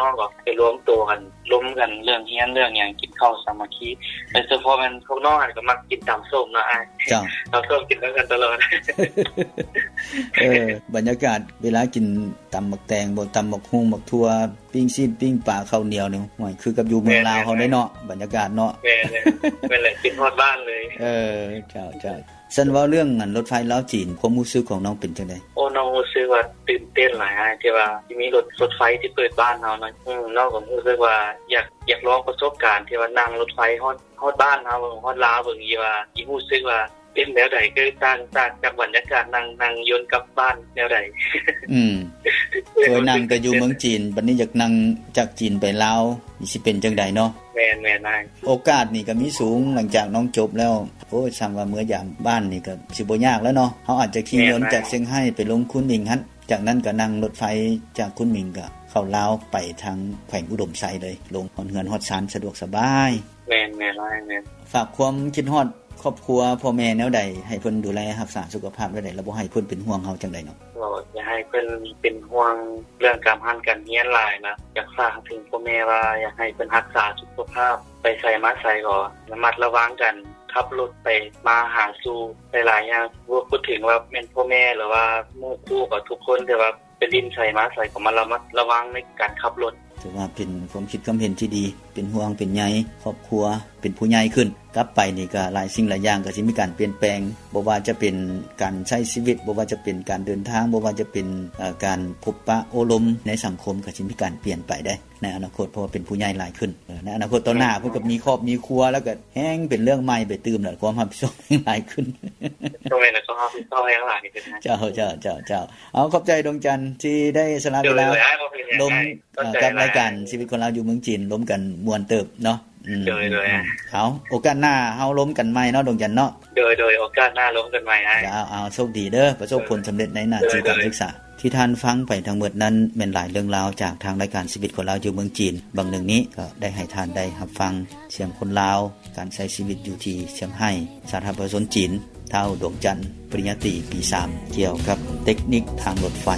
ນ້ອງກໍໄປລວມໂຕກັນ ລົມກັນເລື່ອງຮຽນເລື່ອງຫຍັງ ກິນເຂົ້າສາມັກຄີ. ໂດຍສະເພາະແມ່ນພວກນ້ອງຫັ້ນກໍມັກກິນຕຳສົ້ມເນາະອ້າຍ. ເຈົ້າ ຕຳສົ້ມກິນນຳກັນຕະຫຼອດ. ເອີ ບັນຍາກາດເວລາກິນຕຳໝາກແຕງບໍ ຕຳໝາກຫຸ່ງ ໝາກຖົ່ວ ປີ້ງຊີ້ນ ປີ້ງປາ ເຂົ້າໜຽວນີ້ ໂອ້ຍ ຄືກັບຢູ່ເມືອງລາວເຮົາເດ້ເນາະ ບັນຍາກາດເນາະ. ແມ່ນໆ ແມ່ນແຫຼະ ຄິດຮອດບ້ານເລີຍ. ເອີ ເຈົ້າໆ. ຊັ້ນເວົ້າເລື່ອງອັນລົດໄຟລາວຈີນ ຄວາມຮູ້ສຶກຂອງນ້ອງເປັນຈັ່ງໃດ? ໂອ້ ນ້ອງຮູ້ສຶກວ່າຕື່ນເຕັ້ນຫຼາຍອ້າຍ ທີ່ວ່າຊິມີລົດ ລົດໄຟທີ່ເປີດບ້ານເຮົາເນາະ. ອືມ ນ້ອງກໍຮູ້ສຶກວ່າຢາກ ຢາກລອງປະສົບການທີ່ວ່ານັ່ງລົດໄຟຮອດ ຮອດບ້ານເຮົາເບິ່ງ ຮອດລາວເບິ່ງ ທີ່ວ່າຊິຮູ້ສຶກວ່າເປັນແນວໃດ ຄືຕ່າງ ຕ່າງຈາກບັນຍາກາດນັ່ງ ນັ່ງຍົນກັບບ້ານແນວໃດ. ອືມ ເຄີຍນັ່ງແຕ່ຢູ່ເມືອງຈີນ ບັດນີ້ຢາກນັ່ງຈາກຈີນໄປລາວ ນີ້ຊິເປັນຈັ່ງໃດເນາະ? ແມ່ນໆ ອ້າຍ. ໂອກາດນີ້ກໍມີສູງ ຫຼັງຈາກນ້ອງຈົບແລ້ວ ໂອ້ຍ ຊ່ຳວ່າເມືອຍາມບ້ານນີ້ກໍຊິບໍ່ຍາກແລ້ວເນາະ. ເຮົາອາດຈະຂີ່ຍົນຈາກຊຽງໄຮ້ໄປລົງຄຸນໝິງຫັ້ນ ຈາກນັ້ນກໍນັ່ງລົດໄຟຈາກຄຸນໝິງກໍເຂົ້າລາວໄປທາງແຂວງອຸດົມໄຊເລີຍ ລົງຮອດເຮືອນຮອດຊານສະດວກສະບາຍ. ແມ່ນໆ ອ້າຍ ແມ່ນ. ຝາກຄວາມຄິດຮອດຄອບຄົວພໍ່ແມ່ແນວໃດ ໃຫ້ເພິ່ນດູແລຮັກສາສຸຂະພາບແນວໃດ ແລ້ວບໍ່ໃຫ້ເພິ່ນເປັນຫ່ວງເຮົາຈັ່ງໃດເນາະ? ກໍຢາກໃຫ້ເພິ່ນເປັນຫ່ວງເລື່ອງການຮຽນການຮຽນຫຼາຍນະ. ຢາກຝາກເຖິງພໍ່ແມ່ວ່າ ຢາກໃຫ້ເພິ່ນຮັກສາສຸຂະພາບ ໄປໃສມາໃສກໍລະມັດລະວັງການຂັບລົດໄປມາຫາສູ່ຫຼາຍໆຢ່າງ. ບໍ່ ບໍ່ເຖິງວ່າແມ່ນພໍ່ແມ່ ຫຼືວ່າໝູ່ຄູ່ ກໍທຸກຄົນ ແຕ່ວ່າໄປຫຼິ້ນໃສມາໃສກໍມາລະມັດລະວັງໃນການຂັບລົດ. ຖືວ່າເປັນຄວາມຄິດຄວາມເຫັນທີ່ດີ ເປັນຫ່ວງເປັນໃຍຄອບຄົວ ເປັນຜູ້ໃຫຍ່ຂຶ້ນ ກັບໄປນີ້ກໍຫຼາຍສິ່ງຫຼາຍຢ່າງກໍຊິມີການປ່ຽນແປງ ບໍ່ວ່າຈະເປັນການໃຊ້ຊີວິດ ບໍ່ວ່າຈະເປັນການເດີນທາງ ບໍ່ວ່າຈະເປັນ ເອີ ການພົບປະໂອ້ລົມໃນສັງຄົມ ກໍຊິມີການປ່ຽນໄປໄດ໋ໃນອະນາຄົດ ເພາະວ່າເປັນຜູ້ໃຫຍ່ຫຼາຍຂຶ້ນ. ເອີ ໃນອະນາຄົດຕໍ່ໜ້າເພິ່ນກໍມີຄອບມີຄົວ ແລ້ວກໍແຮງເປັນເລື່ອງໃໝ່ໄປຕື່ມ ແລ້ວຄວາມຮັບຜິດຊອບແຮງຫຼາຍຂຶ້ນ. ຕ້ອງແມ່ນ ແລ້ວກໍຮັບຜິດຊອບແຮງຫຼາຍຂຶ້ນນະ. ເຈົ້າ ເຈົ້າ ເຈົ້າ ເຈົ້າ. ເອົາ ຂອບໃຈດວງຈັນທີ່ໄດ້ສະຫຼະເວລາລົມ ເອີ ກັບລາຍການຊີວິດຄົນລາວຢູ່ເມືອງຈີນ ລົມກັນມ່ວນເຕີບເນາະ. ອືມ ໂດຍ ໂດຍ. ເອົາ ໂອກາດໜ້າເຮົາລົມກັນໃໝ່ເນາະ ດວງຈັນເນາະ. ໂດຍ ໂດຍ. ໂອກາດໜ້າລົມກັນໃໝ່ອ້າຍ. ເຈົ້າ ເອົາ ໂຊກດີເດີ ປະສົບຜົນສຳເລັດໃນໜ້າທີ່ການສຶກສາ. ທີ່ທ່ານຟັງໄປທັງໝົດນັ້ນ ແມ່ນຫຼາຍເລື່ອງລາວຈາກທາງລາຍການຊີວິດຄົນລາວຢູ່ເມືອງຈີນ. ບາງໜຶ່ງນີ້ກໍໄດ້ໃຫ້ທ່ານໄດ້ຮັບຟັງສຽງຄົນລາວ ການໃຊ້ຊີວິດຢູ່ທີ່ຊຽງໄຮ້ ສາທາລະນະລັດປະຊາຊົນຈີນ, ທ້າວ ດວງຈັນ ປະລິນຍາຕີປີສາມ ກ່ຽວກັບເຕັກນິກທາງລົດໄຟ.